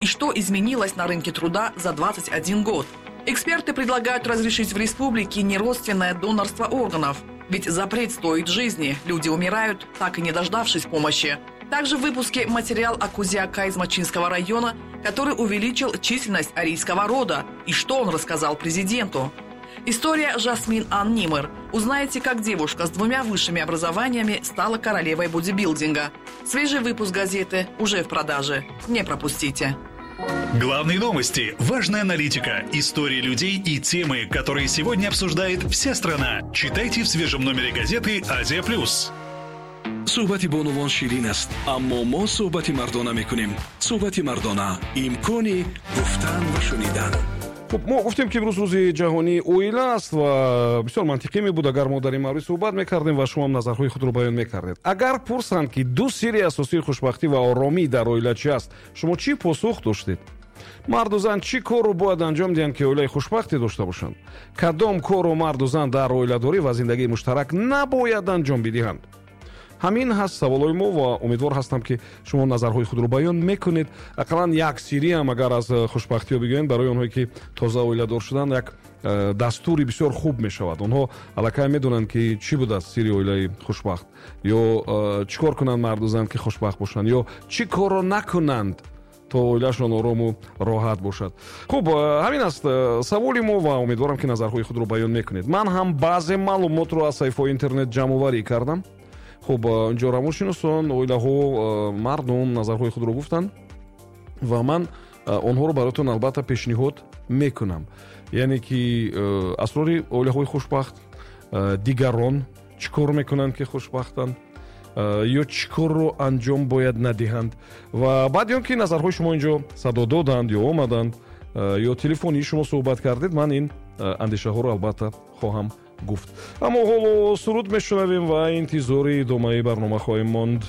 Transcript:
И что изменилось на рынке труда за 21 год? Эксперты предлагают разрешить в республике неродственное донорство органов. Ведь запрет стоит жизни. Люди умирают, так и не дождавшись помощи. Также в выпуске материал о Кузяка из Мачинского района, который увеличил численность арийского рода. И что он рассказал президенту. История Жасмин Ан Нимр. Узнаете, как девушка с двумя высшими образованиями стала королевой бодибилдинга. Свежий выпуск газеты уже в продаже. Не пропустите. Главные новости, важная аналитика, истории людей и темы, которые сегодня обсуждает вся страна. Читайте в свежем номере газеты «Азия плюс». Суҳбати бонувон ширин аст, аммо мо суҳбати мардона мекунем. Суҳбати мардона, имкони гуфтан ва шунидан. Хуб, мо гуфтем, ки имрӯз Рӯзи ҷаҳонии оила аст ва бисёр мантиқӣ мебуд, агар мо дар ин маврид суҳбат мекардем ва шумоам назарҳои худро баён мекардед. Агар пурсанд, ки ду сирри асосии хушбахтӣ ва оромӣ дар оила чи аст, шумо чӣ посух доштед? Марду зан чӣ корро бояд анҷом диҳанд, ки оилаи хушбахте дошта бошанд? Кадом корро марду зан дар оиладорӣ ва зиндагии муштарак набояд анҷом бидиҳанд? Ҳамин ҳаст саволҳои мо ва умедвор ҳастам, ки шумо назарҳои худро баён мекунед. Ақаллан як сирриам агар аз хушбахтиҳо бигӯем, барои онҳое, ки тоза оиладор шуданд, як дастури бисёр хуб мешавад. Онҳо аллакай медонанд, ки чӣ будааст сирри оилаи хушбахт, ё чӣ кор кунанд марду зан, ки хушбахт бошанд, ё чӣ корро накунанд, то оилаашон орому роҳат бошад. Хуб, ҳамин аст саволи мо ва умедворам, ки назарҳои худро баён мекунед. Ман ҳам баъзе маълумотро аз саҳифаҳои интернет ҷамъоварӣ кардам. Хуб, инҷо равоншиносон, оилаҳо, мардум назарҳои худро гуфтанд ва ман онҳоро бароятон албатта пешниҳод мекунам. Яъне ки асрори оилаҳои хушбахт, дигарон чӣ кор мекунанд, ки хушбахтанд, ё чӣ корро анҷом бояд надиҳанд. Ва баъди он ки назарҳои шумо инҷо садо доданд ё омаданд, ё телефонии шумо суҳбат кардед, ман ин андешаҳоро албатта хоҳам гуфт. Аммо ҳоло суруд мешунавем ва интизори идомаи барнома хоҳем монд.